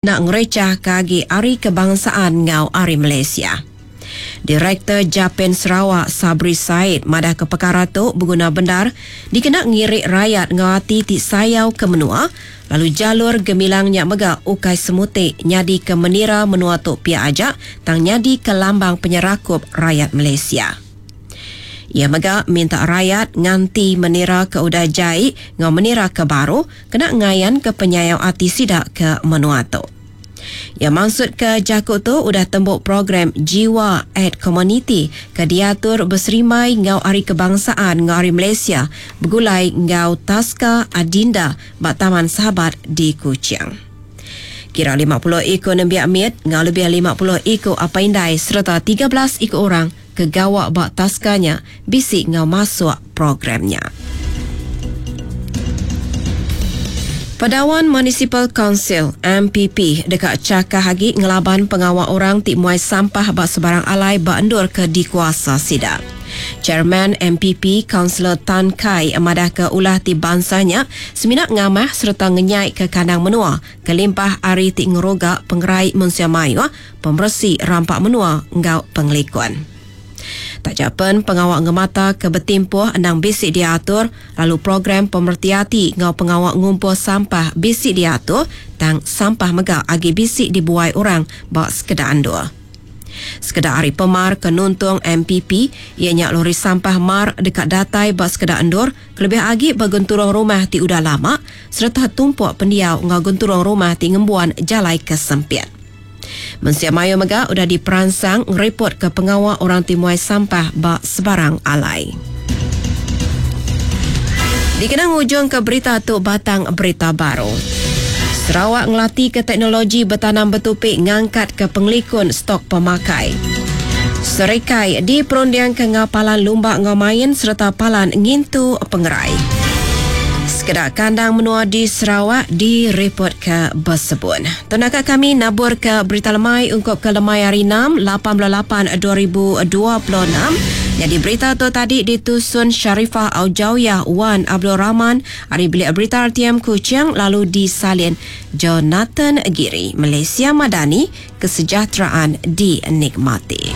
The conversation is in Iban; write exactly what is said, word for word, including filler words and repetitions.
Ngerechah ke agi Hari Kebangsaan ngau Hari Malaysia. Direktor Japen Sarawak Sabri Said madah ke perkara tu berguna bendar dikena ngirik rakyat ngau ati ti sayau ke menua, lalu jalur gemilangnya mega ukai semutik nyadi ke menira menua tu pia aja tang nyadi ke lambang penyerakup rakyat Malaysia. Ia mega minta rakyat nganti menira ke udah jai ngau menira ke baru kena ngayan ke penyayau ati sida ke menua tu. Ia maksud ke jaku tu udah tembuk program Jiwa at Community ke diatur berserimai ngau Hari Kebangsaan ngau Hari Malaysia bergulai ngau Taska Adinda ba Taman Sahabat di Kuching. Kira lima puluh iku nembiak mit ngau lebih lima puluh iku apa indai serta tiga belas iku orang ke gawak ba taskanya bisi ngau masuk programnya. Padawan Municipal Council M P P dekat cakah agi ngelaban pengawal orang ti muai sampah ba sebarang alai ba endur ke dikuasa sida. Chairman M P P Councillor Tan Kai madah ke ulah ti bansanya semina ngamah serta ngenyai ke kandang menua kelimpah ari ti ngeroga pengerai mensia mayuh, pemeresi rampak menua ngau pengelikun. Tak japen pengawak ngemata ke bertimpuh endang bisi diatur, lalu program pemertiati ngau pengawak ngumpul sampah bisi diatur, tang sampah mega agi bisi dibuai orang ba sekedar andur. Sekedar hari pemar ke nuntung M P P, ianya lori sampah mar dekat datai ba sekedar andur, kelebih agi ba genturung rumah ti udah lama, serta tumpuk pendiau ngau genturung rumah ti ngembuan jalai kesempit. Mensia Mayu mega udah diperansang ngereport ke pengawal orang ti muai sampah ba sebarang alai. Dikenang ujung ke berita tu batang berita baru. Sarawak ngelati ke teknologi bertanam bertupik ngangkat ke pengelikun stok pemakai. Serikai diperundiang ke ngau palan lumba ngau main serta palan ngintu pengerai. Sekedar kandang menua di Sarawak direport ke bersebun. Tenaga kami nabur ke berita lemai ungkup ke lemai hari enam, lapan belas lapan dua ribu dua puluh enam. Jadi berita tu tadi ditusun Sharifah Aujawiyah Wan Abdul Rahman hari bilik berita R T M Kuching lalu disalin Jonathan Giri. Malaysia Madani, kesejahteraan dinikmati.